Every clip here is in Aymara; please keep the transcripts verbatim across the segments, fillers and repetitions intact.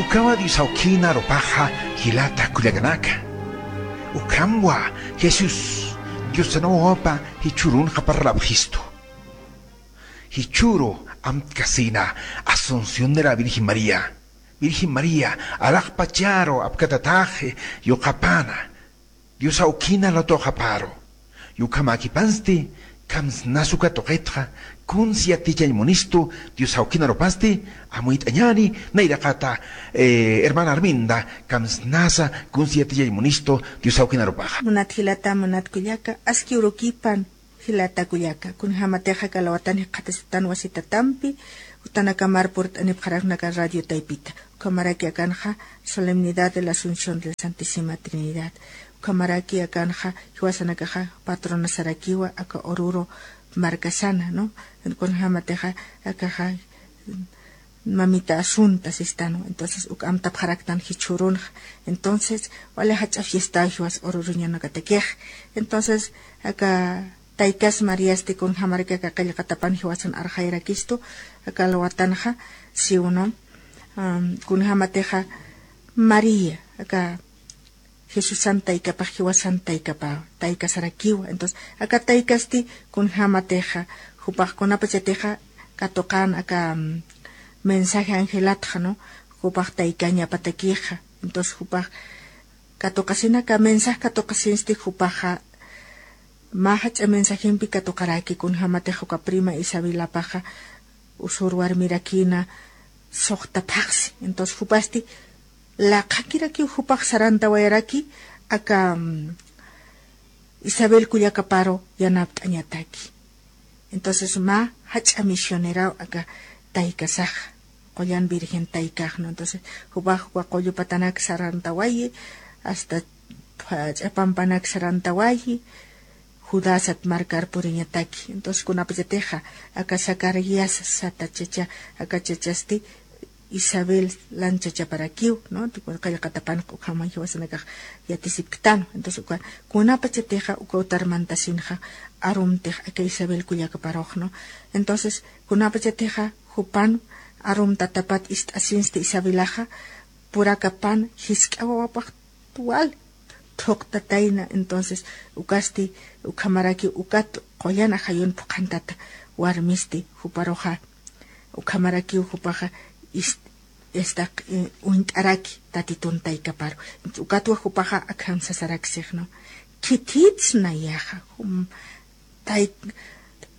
Ukhama Dios awkina arupaxa jilata kullakanaka. Ukhamwa Jesús Dios sanawapa jichhurunxa parlapxistu. Jichhuru amtkasina Asunción de la Virgen María. Virgen María, alaxpacharu apkatataxi yuqapana. Dios awkina lutuxaparu. Yukhamakipansti, kamsnasuka tuqitxa, kunsi yatichañ munistu, Dios awkina arupasti, amuyt'añani, nayraqata, eh, hermana Arminda, kamsnasa, kunsi yatichañ munistu, Dios awkina arupaxa. Munat jilata, munat kullaka, aski urukipan, jilata kullaka, kunjamatixa kalawatani qhatasitan wasitatampi, utanakamar purt'anipxaraknaka radio taypita. Ukhamaraki akanxa Solemnidad de la Asunción de la Santísima Trinidad. Ukhamaraki akanxa jiwasanakaxa patronasarakiwa aka Oruro markasana, ¿no? Kunjamatixa akaxa Mamita Asunta sistanwa. Entonces, uk amtapxaraktan jichhurunxa. Entonces, wali jach'a fiesta jiwas Oruruñanakatakix. Entonces, aka Taykas Mariasti kunjamarakiw aka qillqatapan jiwasan arxayarakistu, aka alwatanxa, siwno, am, kunjamatixa María, aka Jesusan taykapax jiwasan taykapaw, taykasarakiwa. Entonces, aka taykasti kunjamatixa, jupax kunapachatixa katuqan aka, am, mensaje angelatxa, ¿no? Jupax taykañapatakixa. Entonces, jupax katuqasinaka, mensaje katuqasinsti jupaxa, mä jach'a mensajempi katuqaraki, kunjamatix uka prima Isabelapaxa usur warmirakina suxta phaxsi. Entonces, jupasti laqhakirakiw jupax sarantawayaraki, aka, mm, Isabel kullakaparu yanapt'añataki. Entonces, mä jach'a misioneraw aka taykasax, qullan virgen taykax, ¿no? Entonces, jupax uka qullupatanak sarantawayi, hasta, ah, ch'apampanak sarantawayi, Judasat markar puriñataki. Entonces, kunapachatixa, aka Zacarías sata chacha, aka chachasti, Isabel lan chachaparakiw, ¿no? Qillqatapan ukhama jiwasanakax yatisipktan. Entonces, uka, kunapachatixa uka utar mantasinxa arumtix aka Isabel kullakaparux, ¿no? Entonces, kunapachatixa jupan arumtatapat ist'asinsti Isabelaxa, purakapan jisk'a wawapax wal thuqtatayna. Entonces, ukasti, ukhamaraki ukat qullan ajayun phuqhantata warmisti juparuxa. Ukhamarakiw jupaxa ist-, istaq, eh, uñt'araki Tatitun taykaparu. Ukatwa jupaxa akham sasaraksix, ¿no? Khithits nayaxa, jum, tay-,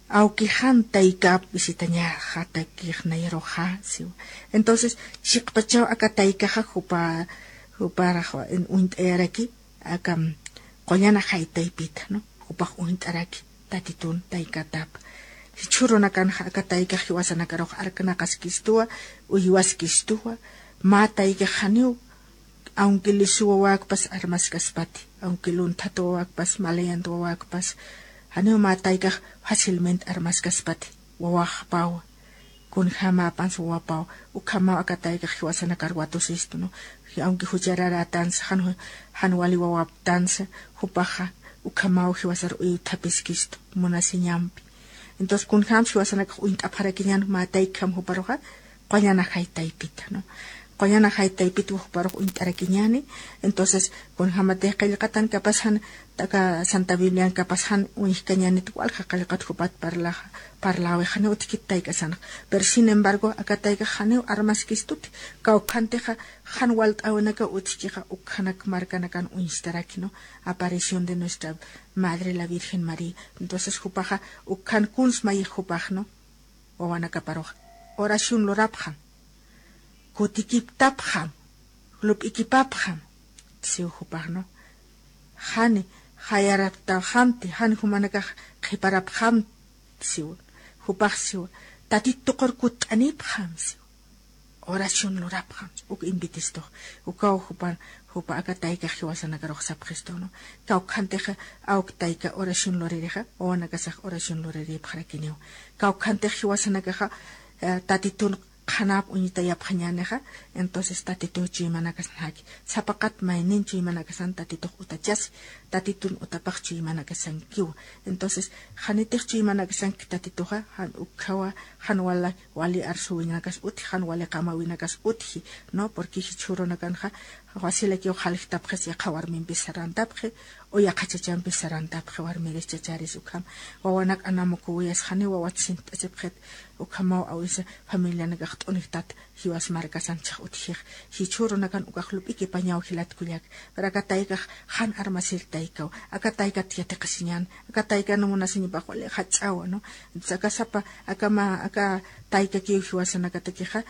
awkixan taykap visitañaxatakix nayaruxa, siwa. Entonces, chiqpachaw aka taykaxa jupa, juparax uñt'ayaraki, aka, mm, qullan ajay taypita, ¿no? Jupax uñt'araki Tatitun taykatap. Jichhürunakanxa aka taykax jiwasanakarux arknaqaskistuwa, uywaskistuwa, mä taykax janiw, aunque lisu wawakpas armaskaspati, aunque lunthat wawakpas, malayant wawakpas, janiw mä taykax fácilmente armaskaspati, wawaxpawa. Kunjämäpans wawapaw, ukhamaw aka taykax jiwasanakar watusistu, ¿no? Aunque juchararätansa, jan, jan wali wawaptansa, jupaxa ukhamaw jiwasar uywthapiskistu, munasiñampi. Entonces, kunjäm jiwasanakax uñt'apxarakiñän mä taykham juparuxa, qullan ajay taypita, ¿no? Qullan ajay taypita juparux uñt'arakiñäni. Entonces, kunjämatix qillqatan kapas jan aka Santa Biblian kapas jan uñjkañänit walja qillqat jupat parlaxa, parläwix janiw utjkit taykasanax. Pero sin embargo, aka taykax janiw armaskistuti, kawkhantixa jan walt'äwinakaw utjkixa, ukkhanak markanakan uñstaraki, ¿no? Aparición de nuestra Madre la Virgen María. Entonces, jupaxa ukkhan kuns mayix jupax, ¿no? Wawanakaparux oración lurapxam, kutikiptapxam, lup'ikipapxam, siw jupax, ¿no? Jani jayaraptapxamti, jani jumanakax qhiparapxamti, siw. Jupax siw, Tatit tuqur kutt'anipxam, siw. Oración lurapxam, uk invitistux. Ukaw jupan, jupa aka taykax jiwasanakarux sapxistu, ¿no? Kawkhantixa, awk tayka oración luririxa, wawanakasax oración luriripxarakiniw. Kawkhantix jiwasanakaxa, eh, Tatitun Qhanap uñtayapxañänixa. Entonces tatituw chuymanakasnaki, sapaqat maynin chuymanakasan tatitux utachasi, tatitun utapax chuymanakasankiwa. Entonces janitix chuymanakasanki tatituxa, jan ukkhawa, jan wali, wali arsuwinakas utji, jan wali qamawinakas utji, ¿no? Porque jichhürunakanxa wasilakiw jaljtapxis yaqha warmimpis sarantapxi, o yaqha chachampis sarantapxi, warmiris chacharis ukham. Wawanak anamukuwiyas janiw wawat sint'asipxit, ukhamaw awisa familianakax t'unijtat jiwas markasan chhax utjix. Jichhürunakan ukax lup'ikipañaw jilat kullak. Pero aka taykax jan armasir taykaw. Aka taykat yatiqasiñän. Aka taykan munasiñapax wali jach'awa, ¿no? Entonces aka sapa, aka mä, aka taykakiw jiwasanakatakixa,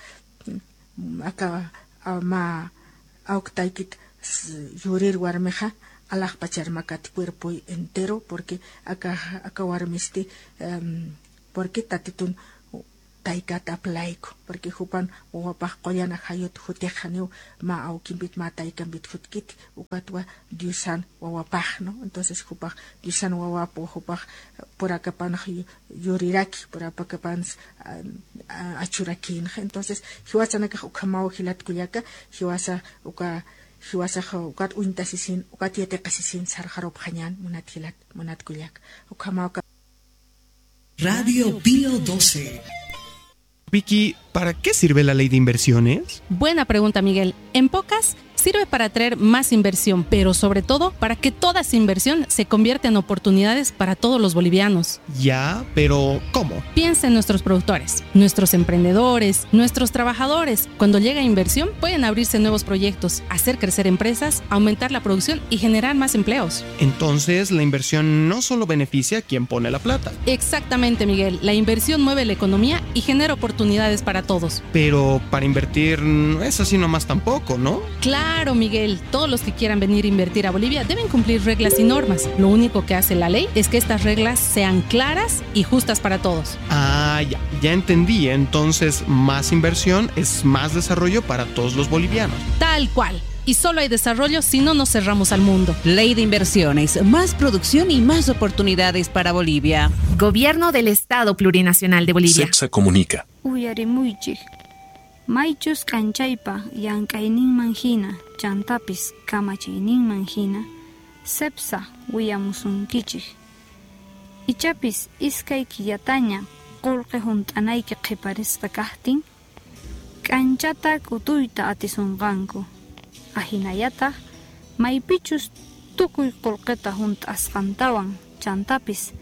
aka, a, mä awktaykit s-, yurir warmixa, alaxpachar makat cuerpoy entero, porque aka, aka warmisti, em, porque tatitun taykat aplayku, porque jupan wawapax qullan ajayut jutix janiw mä awkimpit mä taykampit jutkiti, ukatwa Diosan wawapax, ¿no? Entonces jupax Diosan wawap jupax purakapanx yu-, yuriraki, purakapanx, a, a, achurakïnxa. Entonces jiwasanakax ukhamaw jilat kullaka, jiwasa uka, jiwasax ukat uñtasisin, ukat yatiqasisin sarxarupxañän munat jilat, munat kullaka. Ukhamaw ka- Radio Pío doce. Vicky, ¿para qué sirve la ley de inversiones? Buena pregunta, Miguel. En pocas, sirve para atraer más inversión, pero sobre todo para que toda esa inversión se convierta en oportunidades para todos los bolivianos. Ya, pero ¿cómo? Piensa en nuestros productores, nuestros emprendedores, nuestros trabajadores. Cuando llega inversión, pueden abrirse nuevos proyectos, hacer crecer empresas, aumentar la producción y generar más empleos. Entonces, la inversión no solo beneficia a quien pone la plata. Exactamente, Miguel. La inversión mueve la economía y genera oportunidades para todos. Pero para invertir no es así nomás tampoco, ¿no? Claro, Miguel. Todos los que quieran venir a invertir a Bolivia deben cumplir reglas y normas. Lo único que hace la ley es que estas reglas sean claras y justas para todos. Ah, ya, ya entendí. Entonces, más inversión es más desarrollo para todos los bolivianos. Tal cual. Y solo hay desarrollo si no nos cerramos al mundo. Ley de inversiones, más producción y más oportunidades para Bolivia. Gobierno del Estado Plurinacional de Bolivia. Cepsa comunica. Uyarimuychik. Maychus k'anchaypa llank'ayninman jina, chantapis kamachiyninman jina, Cepsa wiyamusunkichik. Ichapis iskay killataña qullqi junt'anayki qhiparisqa kaqtin, k'anchata k'utuyta atisunqanku. Ajinayataq maypichus tukuy qullqita junt'asqantawan, chantapis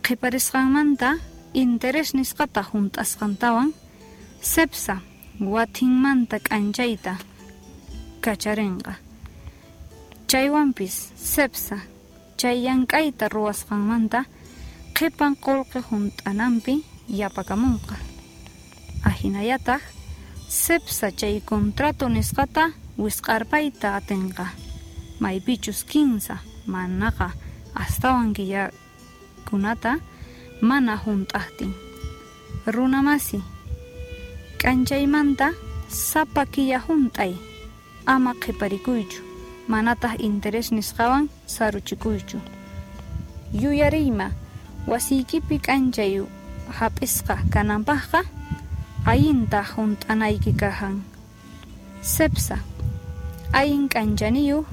qhiparisqanmanta interés nisqata junt'asqantawan, Cepsa wathinmanta k'anchayta kacharinqa. Chaywampis Cepsa chay llank'ayta ruwasqanmanta qhipan qullqi junt'anampi yapakamunqa. Ajinayataq Cepsa chay contrato nisqata wisq'arpayta atinqa, maypichus kinsa manaqa astawan killakunata mana junt'aqtin. Runamasi, k'anchaymanta sapa killa junt'ay, ama qhiparikuychu, manataq interés nisqawan saruchikuychu. Yuyariyma, wasiykipi k'anchay jap'isqa kanampaqqa, allinta junt'anayki kajan. Cepsa, allin k'anchaniyuq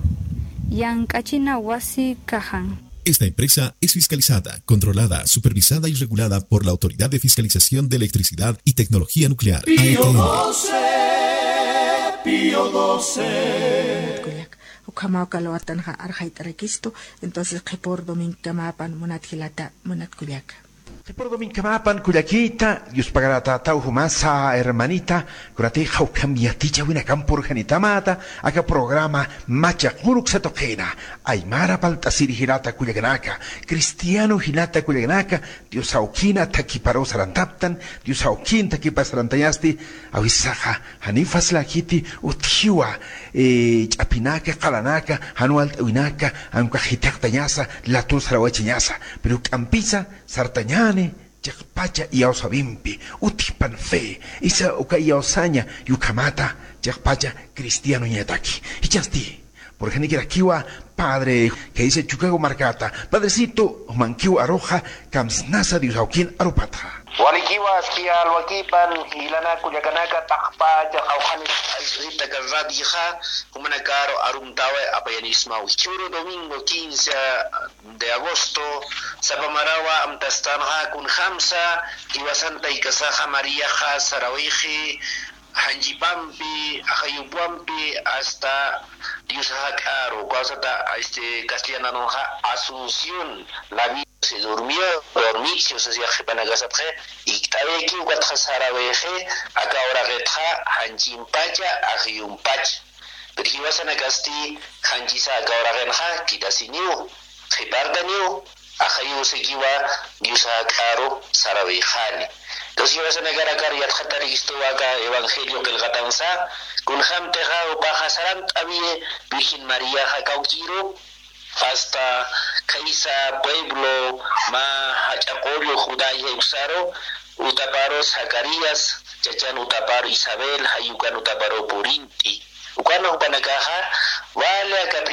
llank'achina wasi kajan. Esta empresa es fiscalizada, controlada, supervisada y regulada por la Autoridad de Fiscalización de Electricidad y Tecnología Nuclear, Pío A T N. Doce, Pío doce. Kullak, ukhamaw kalwatanxa arxayt'arakistu, entonces qhipür domingokamäpan munat jilata, munat kullaka. Qhipür domingokamäpan kullakita, Dios pagarätätaw jumasa hermanita, kunatixa ukham yatichäwinakam purxanitamata, aka programa Machaq Uruk satuqina, aymara palt'asiri jilata kullakanaka, cristiano jilata kullakanaka, Dios awkina thakiparu sarantaptan, Dios awkin thakipar sarantañasti, awisaxa janiw facilakiti utjiwa, eh, ch'apinaka, qalanaka, jan walt'äwinaka, jan ukax jithiqtañasa, latur sarawachañasa, pero juk'ampisa, sartañäni, chiqpacha iyawsawimpi, utjpan fe, isa uka iyawsaña, ukhamata, chiqpacha cristianoñataki. Jichhasti, purxanikirakiwa, padre, que dice Chicago markata, padrecito, jumankiw aruxa, kamsnasa Dios awkin arupatxa. Walikiwa aski alwakipan jilanaka kullakanaka, taqpacha qawqhanis aysuhita karradixa, jumanakaru arumtawa apayanismaw. Jichhüru domingo quince de agosto, sapa marawa amtastanxa kunjamsa jiwasan taykasaxa Mariaxa sarawixi, janchipampi, ajayupampi, hasta Dios jak'aru, kawsata, este, castellananunxa Asunción, la Virgen se durmió, dormixi, o sea, qhipanakasatxa, ikt'awikiw ukatxa sarawixi, aka uraqitxa, janchimpacha, ajayumpacha. Pero jiwasanakasti, janchisa aka uraqinxa, kitasiniw, qhipartaniw, ajayusikiwa Dios jak'aru sarawixani. Entonces, jiwasanakarakar yatxatarikistuwa aka evangelio qillqatansa, kunjamtixa jupaxa sarant'awiyi Virgen Mariaxa kawkiru, hasta khaysa pueblo mä jach'a qullu Judá jayuksaru, utaparu Zacarías, chachan utaparu Isabel, jayukan utaparu purint'i. Ukan jupanakaxa, wali aka